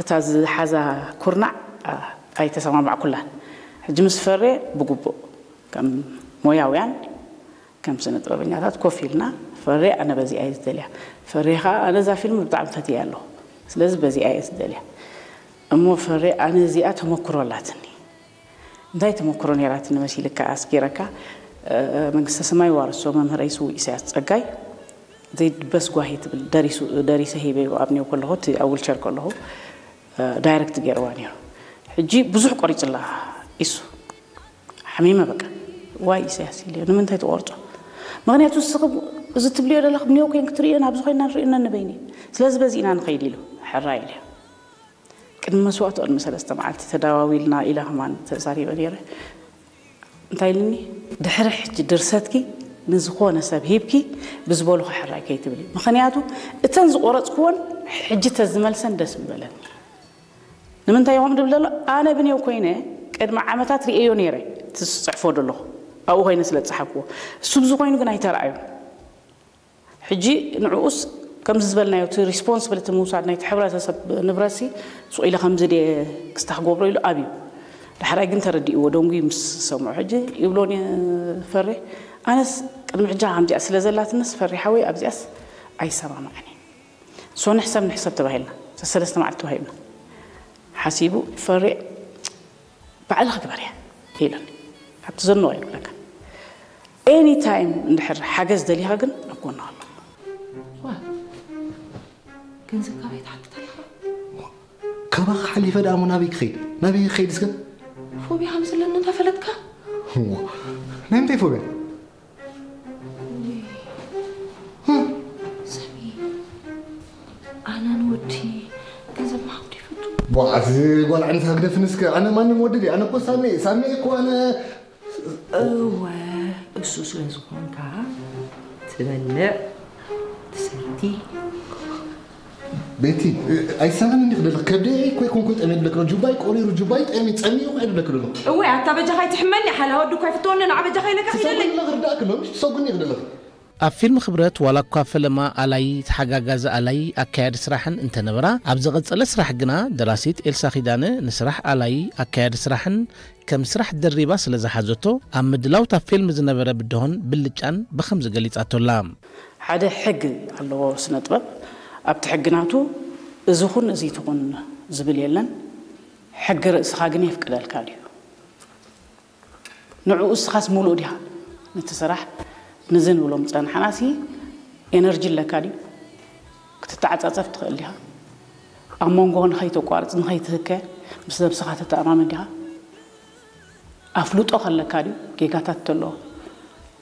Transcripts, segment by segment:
እታ ዝሓዛ ኩርናዕ ኣይተሰማማዕኩላን። ሕጂ ምስ ፈሬ ብግቡእ ከም ሞያውያን ከም ስነ ጥበበኛታት ኮፍ ኢልና፣ ፈሬ ኣነ በዚኣ እየ ዝደልያ፣ ፈሬ ከዓ ኣነ እዛ ፊልም ብጣዕሚ ፈትያ ኣለኹ፣ ስለዚ በዚኣ እየ ዝደልያ። እሞ ፈሬ ኣነ እዚኣ ተመክሮ ኣላትኒ፣ እንታይ ተመክሮ ነይራትኒ መሲልካ ኣስጊረካ? መንግስተ ሰማይ ዋርሶ መምህረይ ስዉእ ኢሳያስ ጸጋይ ዘይድበስ ጓሂ ትብል ደሪሰ ሂበዮ ኣብ ኒው ከለኹ፣ እቲ ኣብ ዊልቸር ከለኹ ዳይረክት ገይርዋ ነይሩ። ሕጂ ብዙሕ ቆሪፅላ ኢሱ ሓሚመ በቃ ዋይ ኢሳያስ ኢለ፣ ንምንታይ ትቆርፆ? ምክንያቱ ንስኺ እዚ ትብልዮ ዘለኽ ብኒዮ ኮይን ክትርእዮ ናብዚ ኮይና ንርእየና ንበይኒ፣ ስለዚ በዚ ኢና ንኸይድ ኢሉ ሕራይ ኢለ። ቅድሚ መስዋእቱ ቅድሚ ሰለስተ መዓልቲ ተዳዋዊልና ኢለ ከማን ተዛሪበ ነይረ። እንታይ ኢልኒ? ድሕሪ ሕጂ ድርሰትኪ ንዝኾነ ሰብ ሂብኪ ብዝበሉኺ ሕራይ ከይትብሊ፣ ምኽንያቱ እተን ዝቆረፅክወን ሕጂ ተዝመልሰን ደስ ምበለኒ። ንምንታይ ይኾን ድብል ዘሎ? ኣነ ብኔው ኮይነ ቅድሚ ዓመታት ርእየዮ ነይረ እቲ ዝፅሕፎ ዘለኹ፣ ኣብኡ ኮይነ ስለ ዝፀሓፍክዎ። እሱ ብዚ ኮይኑ ግን ኣይተረኣዩን። ሕጂ ንዕኡስ ከምዚ ዝበልናዮ እቲ ሪስፖንስብልቲ ምውሳድ ናይቲ ሕብረተሰብ ንብረትሲ ሱቕ ኢለ ከምዚ ድየ ክስታ ክገብሮ ኢሉ ኣብዩ። ዳሕራይ ግን ተረዲእዎ ደንጉዩ ምስ ሰምዑ ሕጂ ይብሎን ፈሬ ኣነስ ቅድሚ ሕጂ ከምዚኣ ስለ ዘላትንስ ፈሬ ሓወይ ኣብዚኣስ ኣይሰማማዕን። ሶ ንሕሰብ ንሕሰብ ተባሂልና ሰለስተ መዓልቲ ተባሂልና ሓሲቡ ፈሬ ባዕልኺ ግበርያ ኢለን። ካብቲ ዘኖ ኣይብለካ። ኤኒ ታይም እንድሕር ሓገዝ ደሊኻ ግን ኣብ ጎንኻ ኣሎ። ገንዘብ ካበይ ትሓትት ኣለኻ? ካባኻ ሓሊፈ ደኣ እሞ ናበይ ክኸይድ ናበይ ክኸይድ እስከ? ፎቢያ ከም ዘለኒ እንዳፈለጥካ? ናይ ምንታይ ፎቢያ? ሰሚ ኣነ ንወዲ ገንዘብ ምሃብ ዶ ይፈቱ? ቧዕ እዚ ጓል ዓይነት ሃግደፍኒ እስከ ኣነ ማንም ወዲ ድየ ኣነ እኮ ሳሚ እየ ሳሚ እየ እኮ ኣነ እወ እሱ ስለ ዝኾንካ ትበልዕ ትሰቲ ቤቲ ኣይሰማን እንዲ ክደለክ ከብደ እኮ ይኮንኩ ጠሜ ድለክ ጁባይ ቆሪሩ ጁባይ ጠሜ ጸሚዩ እኮ ድለክ ደሎ እወ ኣታ በጃኻ ይትሕመኒ ሓላ ወዲ እኮ ይፍትወኒ ንዓ በጃኻ ኢለካ ኪደለይ ትሰጉኒ ክርዳእክ ሎምሽ ትሰጉኒ ክደለክ ኣብ ፊልም ክብረት ዋላ እኳ ፈለማ ኣላይ ተሓጋጋዚ ኣላይ ኣካያዲ ስራሕን እንተነበራ ኣብ ዝቐጸለ ስራሕ ግና ደራሲት ኤልሳ ኪዳነ ንስራሕ ኣላይ ኣካያዲ ስራሕን ከም ስራሕ ደሪባ ስለ ዝሓዘቶ ኣብ ምድላው እታ ፊልም ዝነበረ ብድሆን ብልጫን ብኸምዚ ገሊጻቶ ኣላ። ሓደ ሕግ ኣለዎ ስነ ጥበብ ኣብቲ ሕግናቱ እዚ ኹን እዚ ትኹን ዝብል የለን ሕጊ ርእስኻ ግን የፍቅደልካ ድዩ ንዕኡ እስኻስ ሙሉእ ዲኻ ነቲ ስራሕ ንዚ ንብሎም ዝጸናሕናሲ ኤነርጂ ኣለካ ድዩ ክትተዓጻጸፍ ትኽእል ዲኻ ኣብ መንጎ ንኸይተቋርጽ ንኸይትህከ ምስ ነብስኻ ተተኣማመን ዲኻ ኣፍልጦ ከለካ ድዩ ጌጋታት ተሎ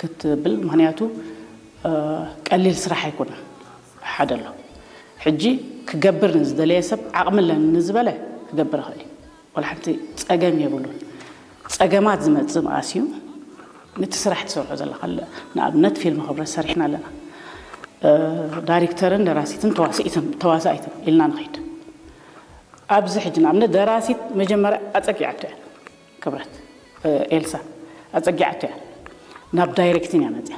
ክትብል ምክንያቱ ቀሊል ስራሕ ኣይኮነን ሓደ ኣሎ ሕጂ ክገብር ንዝደለየ ሰብ ዓቕሚ ኣለኒ ንዝበለ ክገብር ይኽእል እዩ ወላ ሓንቲ ጸገም የብሉን። ጸገማት ዝመጽእ መኣስ እዩ። ነቲ ስራሕ ትሰርሖ ዘለኻ ንኣብነት ፊልም ክብረት ሰሪሕና ኣለና። ዳይሬክተርን ደራሲትን ተዋሳኢትን ኢልና ንኸይድ። ኣብዚ ሕጂ ንኣብነት ደራሲት መጀመርያ ኣጸጊዓቶ እያ ክብረት ኤልሳ ኣጸጊዓቶ እያ ናብ ዳይሬክቲን እያ መጽያ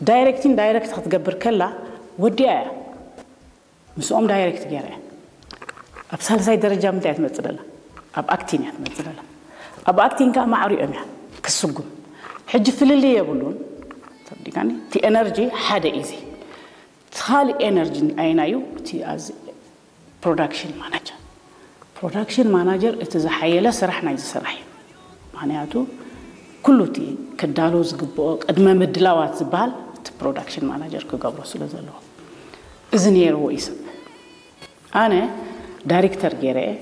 ዳይሬክቲን ዳይሬክት ክትገብር ከላ ወዲያ እያ ምስኦም ዳይሬክት ገይረ እየ ኣብ ሳልሳይ ደረጃ ምንታይ እያ ትመፅእ ዘላ ኣብ ኣክቲን እያ ትመፅእ ዘላ ኣብ ኣክቲን ከዓ ማዕሪኦም እያ ክስጉም ሕጂ ፍልልይ የብሉን ተረዲካኒ እቲ ኤነርጂ ሓደ እዩ እዚ እቲ ካሊእ ኤነርጂ ኣየናዩ እቲ ኣዚ ፕሮዳክሽን ማናጀር ፕሮዳክሽን ማናጀር እቲ ዝሓየለ ስራሕ ናይዚ ስራሕ እዩ ምክንያቱ ኩሉ እቲ ክዳሎ ዝግብኦ ቅድመ ምድላዋት ዝበሃል እቲ ፕሮዳክሽን ማናጀር ክገብሮ ስለ ዘለዎ እዚ ነይርዎ እዩ ሰብ ኣነ ዳይሬክተር ገይረ እየ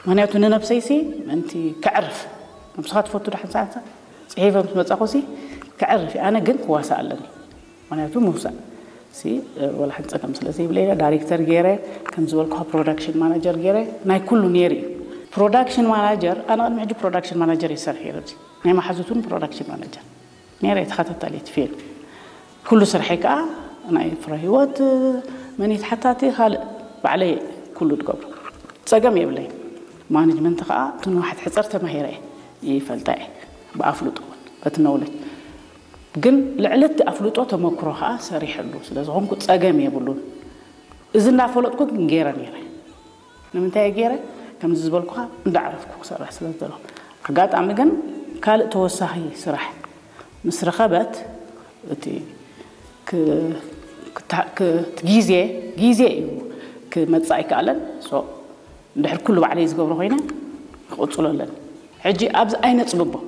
ምክንያቱ ንነብሰይሲ ምእንቲ ከዕርፍ ነብስኻ ትፈቱ ዶ ሓንሳብ ሓንሳብ ፅሒፈ ምስ መፃኹሲ ከዕርፍ እየ ኣነ ግን ክዋሳእ ኣለኒ ምክንያቱ ምውሳእ ሲ ወላ ሓንቲ ፀገም ስለ ዘይብለ ኢለ ዳይሬክተር ገይረ ከም ዝበልኩኻ ፕሮዳክሽን ማናጀር ገይረ ናይ ኩሉ ነይሩ እዩ ፕሮዳክሽን ማናጀር ኣነ ቅድሚ ሕጂ ፕሮዳክሽን ማናጀር ይሰርሕ ነይረ ናይ መሓዙት እውን ፕሮዳክሽን ማናጀር ነይረ ተኸታታሊት ፊልም ኩሉ ስርሐይ ከዓ ናይ ፍረ ህይወት መኒት ሓታቲ ካልእ ባዕለይ ኩሉ ዝገብሮ ፀገም የብለይ ማኔጅመንት ከዓ ትንዋሓት ሕፀር ተማሂረ ይፈልጣ እየ ብኣፍልጦ እውን በቲ ነውለጅ ግን ልዕሊ እቲ ኣፍልጦ ተመክሮ ከዓ ሰሪሐሉ ስለ ዝኾንኩ ፀገም የብሉን እዚ እናፈለጥኩ ግን ገይረ ነይረ ንምንታይ ገይረ ከምዚ ዝበልኩኻ እንዳዕረፍኩ ክሰርሕ ስለ ዝደለኹ። ኣጋጣሚ ግን ካልእ ተወሳኺ ስራሕ ምስ ረኸበት እቲ ክ- ክታ- ክ- እቲ ግዜ ግዜ እዩ ክመጽእ ኣይከኣለን። So እንድሕር ኩሉ ባዕለይ ዝገብሮ ኮይነ ክቕጽሎ ኣለኒ። ሕጂ ኣብዚ ኣይነጽብቦ